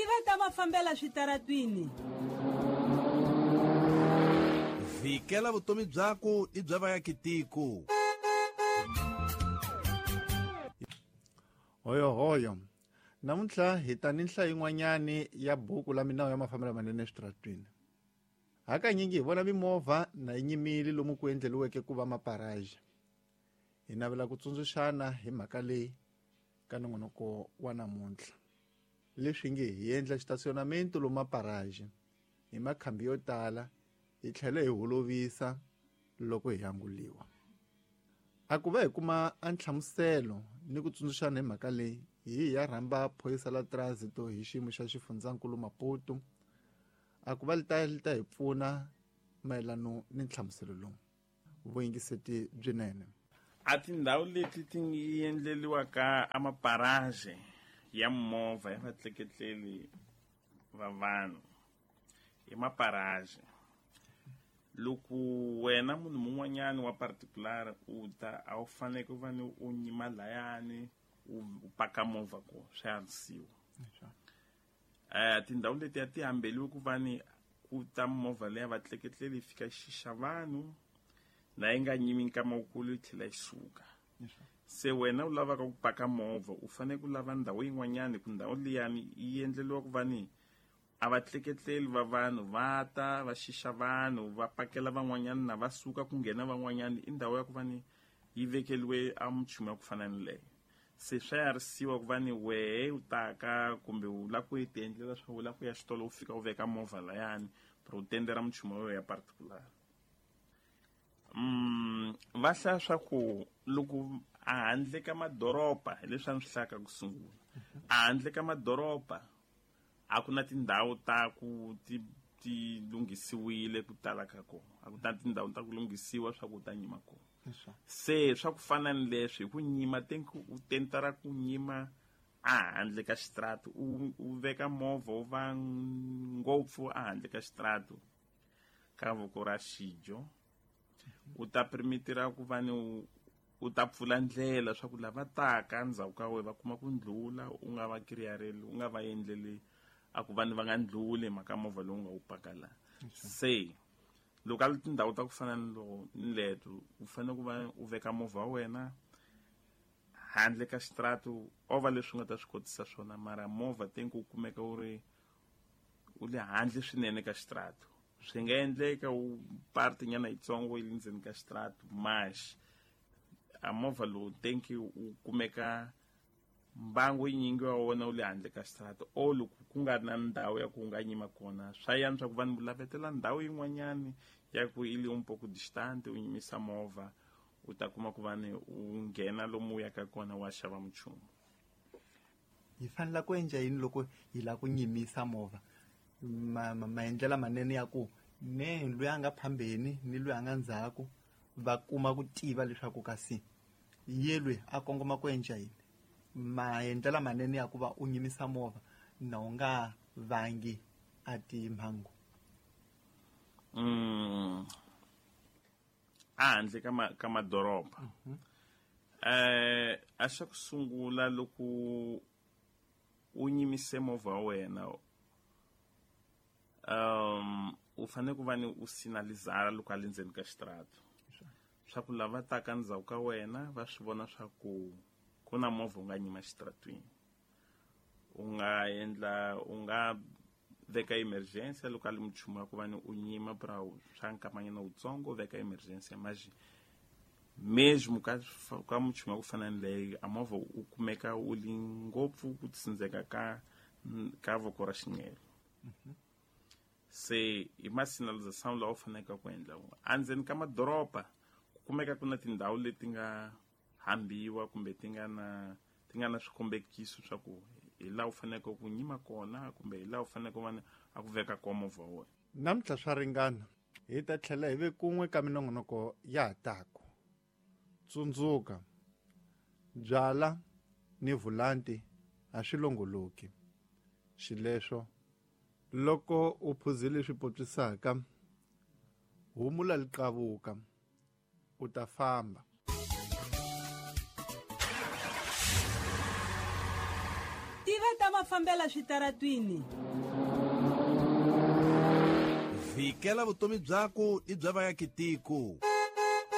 Tiva ta mafambela switaratwini. Vhikela vutomi byaku ni bya vaakitiko. Hoyohoyo. Namuntlha hi ta ni nhlayo yin'wanyani ya buku la minawu ya mafambelo manene eswitaratwini. Hakanyingi hi vona mimovha na yi nyimile lomu ku endleriweke ku va maparaji. Hi navela ku tsundzuxana hi mhaka leyi ka nongonoko wa namuntlha. Leswi nge hi endla xitasionamento lomu maparaji hi makhambi yo tala hi tlhela hi holovisa loko hi anguliwa. A ku va hi kuma a nhlamuselo ni ku tsundzuxana hi mhaka leyi, hi ya rhamba phorisa la trásito hi xiyimo xa xifundzankulu Maputo. A ku va li ta hi pfuna mayelano ni nhlamuselo lowu. Vuyingiseti byinene. A tindhawu leti ti endleriwaka a maparaje ya movha ya vatleketleli va vanhu i maparaje. Loko wena munhu mun'wanyani wa particular u ta, a wu fanele ku va ni u nyima layani u paka movha ko swi ansiwa. Tindhawu leti a ti hambeliwi ku va ni ku ta movha leya vatleketleli yi fika xixa vanhu na yi nga nyimi nkama wukulu yi tlhela yi suka. Se wena u lavaka ku paka movha u fanele ku lava ndhawu yin'wanyani, ku ndhawu liyani yi endleriwa ku va ni a vatleketleli va vanhu va ta va xixa vanhu va pakela van'wanyani na va suka ku nghena van'wanyani. I ndhawu ya ku va ni yi vekeliwe a minchumu ya ku fana ni leyo. Se swa yarisiwa ku va ni wehe u taka kumbe u lava ku yi ti endlela swa u lava ku ya xitolo u fika u veka movha layani pero u tendera minchumu ya wena ya particular. Va hlaya swa ku loko a handle ka madoroba, hi leswi a ni swi hlayaka ku sungula, a handle ka madoroba a ku na tindhawu ta ku ti lunghisiwile ku tala ka kona, a ku na tindhawu ta ku lunghisiwa swa ku u ta nyima kona. Se swa ku fana ni leswi hi ku nyima tenki u tentara ku nyima a handle ka xitratu, u veka movha wu va ngopfu a handle ka xitratu ka voko ra xidyo, u ta permitira ku va ni u ta pfula ndlela swa ku lava taka ndzhaku ka wena va kuma ku ndlula, u nga va kiriyareli, u nga va endleli a ku vanhu va nga ndluli hi mhaka movha lowu nga wu paka laha. Se loko a li tindhawu ta ku fana ni loko ni leto, u fanele ku va u veka movha wa wena handle ka xitratu, o va leswi u nga ta swi kotisa swona, mara movha tenki u kumeka u ri u le handle swinene ka xitratu. Swi nga endleka u parte nyana yitsongo yi le ndzeni ka xitratu, mas a movha lowu tenki u kumeka mbangu yinyingi wa wona wu le handle ka xitratu, o loko ku nga ri na ndhawu ya ku u nga nyima kona, swa yantswa ku vanhu lavetela ndhawu yin'wanyani ya ku yi le un poco distante, u nyimisa movha u ta kuma ku va ni u nghena lomu u yaka kona wa xava minchumu. Hi fanele ku endla yini loko hi lava ku nyimisa movha? Maendlela manene ya ku ne loyi a nga phambeni ni loyi a nga ndzhaku va kuma ku tiva leswaku kasi ye loyi a kongoma ku endla yini. Maendlela manene ya ku va u nyimisa movha na u nga vangi a timhangu. A handle ka ka madoroba. A xa ku sungula loko u nyimise movha wa wena, u fanele ku va ni u sinalizara loko a le ndzeni ka xitratu, swa ku lava taka ndzhaku ka wena va swi vona swa ku ku na movha u nga nyima xitratwini. U nga endla, u nga veka emergency loko a li minchumu ya ku va ni u nyima pra swa nkamanyana wutsongo, u veka emergency mas mesmo ka minchumu ya ku fana ni leyo, a movha u kumeka u li ngopfu ku tsindzeka ka voko ra xinxelo. Se hi ma signalization lawa u faneleke ku endla wona. Endzeni ka madoroba ku kumeka ku na tindhawu leti nga hambiwa kumbe ti nga na swikombekiso swa ku hi laha u faneleke ku nyima kona kumbe hi laha u faneleke ku va a ku veka kona movha wa wena. Namuntlha swa ringana, hi ta tlhela hi ve kun'we ka minongonoko ya ha taku. Tsundzuka, byala ni vulanti a swi longoloki. Xileswo loko u phuzile swi potswisaka, humula liqavuka, u ta famba. Tiva ta mafambela switaratwini. Vhikela vutomi byaku ni bya vayakitiko.